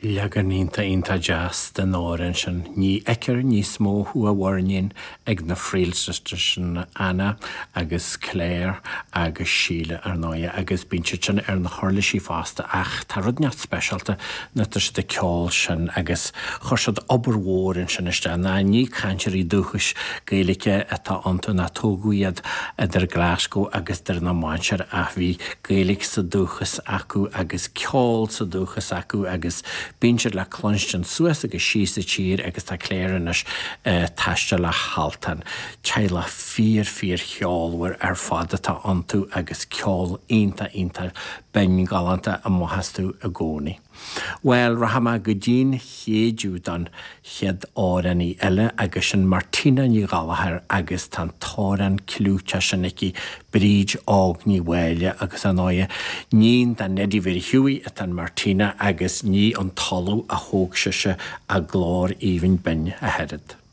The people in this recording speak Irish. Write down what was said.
Leagan iontach iontach deas den amhrán sin. Ní fheicfear níos mó thú a mhuirnín ag na Friel Sisters sin, Anna agus Claire agus Síle ar ndóighe agus bíonn siad sin ar na huirlisí fosta ach tá rud inteacht speisialta nuair atá siad ag ceol sin agus chuir siad obair mhór ansin isteach. Ná ní cainteoirí dúchais Gaeilge atá iontu ná tógadh iad idir Glasgow agus Doire na Mainséar ach bhí Gaeilge sa dúchas acu agus ceol sa dúchas acu agus bíonn siad le cluinstin suas agus síos sa tír agus tá Claire anois ag taisteal le hAltan. Teaghlach fíor fíor cheolmhar ar fad atá iontu agus ceol iontach iontach binn galánta amach astu i gcónaí. Bhuel, rachaidh mé go dtí'n Chéideadh don chéad amhránaí eile agus sin Martina Ní Ghallchóir agus tá an t-amhrán clúiteach sin aici, Bríd Óg Ní Mháille agus ar ndóighe, níon do Neidí Mhéirí Hughie atá in Martina agus ní an talamh a thóg sise a glór aoibhinn binn ach oiread.